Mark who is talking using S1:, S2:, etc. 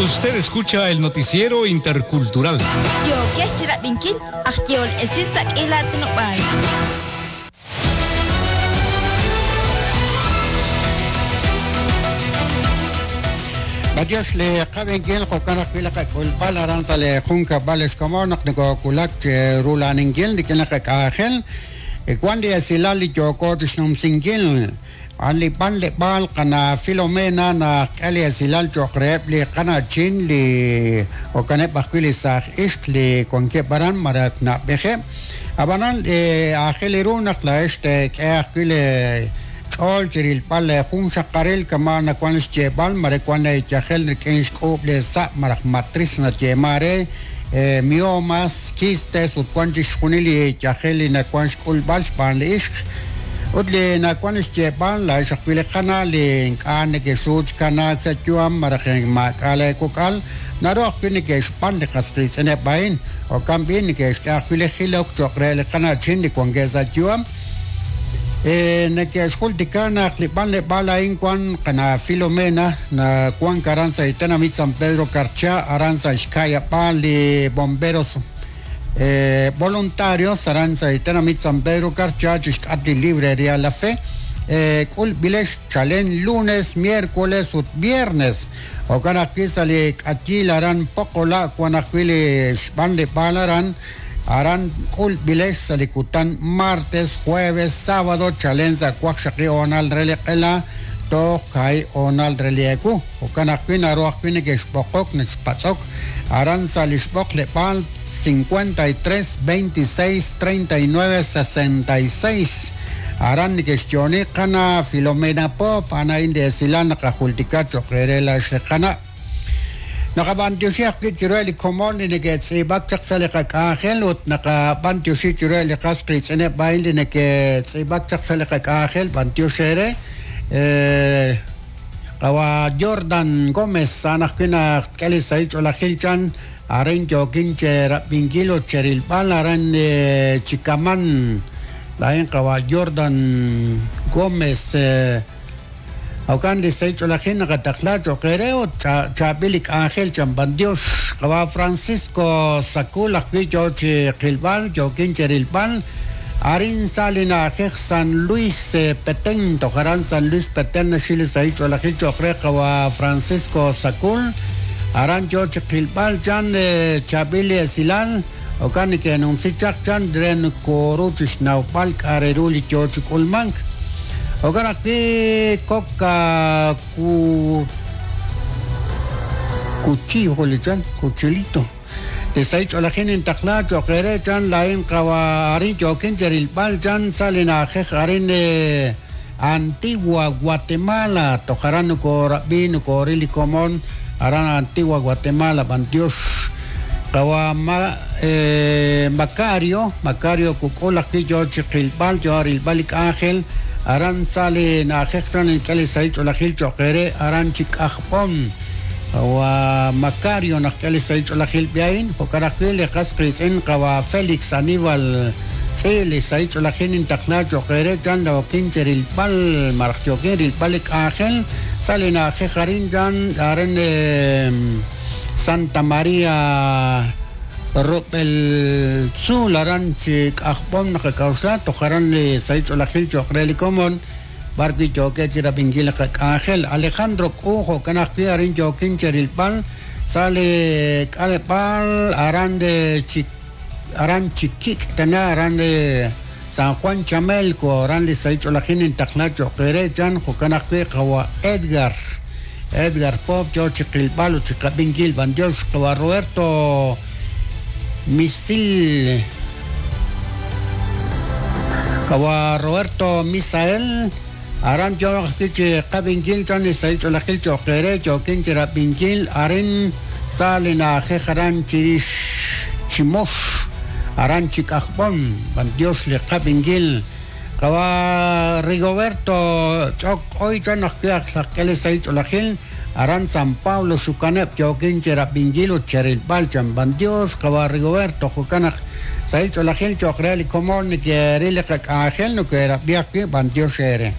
S1: Usted escucha el noticiero intercultural.
S2: Yookex chirab'inkil aj yehol esil sa' k'iila aatinob'aal.
S3: B'antiox li qab'inkil jo'kan ajwi' li qak'ulb'al aran sa' li junkab'al ex komon naq nokowulak chi rula'aninkil rik'in li qak'anjel. Wan li esilal li yooko chixnumsinkil. A'an li b'anleb'aal qana' Filomena naqk'e li esilal cho'q reheb' li qana'chin li jo'kaneb' ajwi' li saaj ixq li wankeb' aran malaj na'b'ejeb'. Ab'anan aajel ru naq laa'ex teek'e ajwi' lee ch'ool chi rilb'al lee junxaqaril kama' nawank xyeeb'al mare wank leeyajel rik'in xk'uub' lee sa' malaj matriz nayeeman re, miomas, quistes ut wan chixjunil li yajel li nawan xk'ulb'al xb'aan li ixq. Ut li nawan xyeeb'al, laa'ex ajwi' li qana' li ink'a' nekexru chi kanaak sa' yu'am malaj maak'a' lee kok'al, naru ajwi' neke'xb'an li qas qiitz'ineb' a'in. Jo'kan b'i' neke'xk'e ajwi' li jilok cho'q re li qana'chin li wankeb' sa' yu'am. Neke'xjultika naq li b'anleb'aal a'in wan qana' Filomena, nawank aran sa' li tenamit San Pedro Carchá, aran sa' xka'yab'aal li Bomberos Voluntarios, aran sa' li tenamit San Pedro Carchá chi xk'atq li Librería La Fe. K'ulb'ilex chalen lunes, miércoles ut viernes. Jo'kan ajwi' sa' li k'ayiil aran Poqola' wan ajwi' li xb'anleb'aal aran. Aran k'ulb'ilex sa' li kutan martes, jueves, sábado chalen sa' waqxaqi hoonal re li q'ela toj kaahib' hoonal re li ewu. Jo'kan ajwi' naru ajwi' nekexb'oqok, nekexpatz'ok aran sa' li xb'oqleb'aal 53 26 39 66. Aran nekexyo'oni qana' Filomena Poop, a'an a'in li esilal naqajultika cho'q eere laa'ex li qana'. Naqab'antioxi ajwi' chiruheb' li komon li neke'tz'iib'ak chaq sa' li qak'anjel ut naqab'antioxi chiruheb' li qas qiitz'ineb' a'in li neke'tz'iib'ak chaq sa' li qak'anjel. B'antiox eere. Qawa' Jordan Gómez, a'an ajwi' naq tk'e li sahil ch'oolejil chan, arin yookin cherab'inkil ut cherilb'al aran chi kaman. Laa'in qawa' Jordan Gómez. Jo'kan li sahil ch'oolejil naqataqla cho'q eere ut chaab'il li k'anjel chan b'antiox. Qawa' Francisco Sacul ajwi' yo chi qilb'al, yookin chi rilb'al arin sa' li na'ajej San Luis Petén, toj aran San Luis Petén naxil li sahil ch'oolejil cho'q re qawa' Francisco Sacul, aran yo chi qilb'al chan chaab'il li esilal, Jo'kan neke'numsi chaq chan re nokooru chi xnawb'al k'a' re ru li yoo chi k'ulmank. Jo'kan ajwi' kok ku kuchillo jo' li chan, kuchilito. Li sahil ch'oolejil nintaqla cho'q eere chan laa'in qawa' arin yookin cherilb'al chan sa' li na'ajej arin Antigua Guatemala, toj aran nokoorab'i, nokooril li komon aran Antigua Guatemala, b'antiox qawa' Macario, Macario kuk'ul ajwi' yoo chi qilb'al, yoo rilb'al li k'anjel aran sa' li na'ajej chan nink'e li sahil ch'oolejil cho'q eere aran chi K'ajb'om. Qawa' Macario naq k'e li sahil ch'oolejil b'i a'in, jo'kan ajwi' li qas qiitz'in qawa' Félix Aníbal Tz'i' li sahil ch'oolejil nintaqla cho'q eere chan yookin cherilb'al malaj yookin rilb'al li k'anjel sa' li na'ajej arin chan arin Santa María rub'el tzuul aran chi K'ajb'om naqak'a'uxla toj aran li sahil ch'oolejil cho'q re li komon b'ar wi' yookeb' chi rab'inkil li qak'anjel. Alejandro K'u jo'kan ajwi' arin yookin cherilb'al sa' li k'aleb'aal aran chi Aran chi kik' tana aran San Juan Chamelco, aran li sahil ch'oolejil nintaqla cho'q eere chan, jo'kan ajwi' qawa' Edgar, Edgar Pop yo chi qilb'al ut chi qab'inkil, b'antiox qawa' Roberto Misil, qawa' Roberto Misael, aran yo ajwi' chi qab'inkil chan li sahil ch'oolejil cho'q eere, yookin chi rab'inkil arin sa' li na'ajej aran chirix Chimox, aran chi K'ajb'om, b'antiox li qab'inkil. Qawa' Rigoberto Ch'ok K'oy chan ajwi' aj k'e li sahil ch'oolejil aran San Pablo Xukaneb' yookin chi rab'inkil ut cherilb'al chan b'antiox qawa' Rigoberto jo'kan naq Sahil ch'oolejil cho'q re li komon neke'ril li qak'anjel noke'rab'i ajwi' b'antiox eere.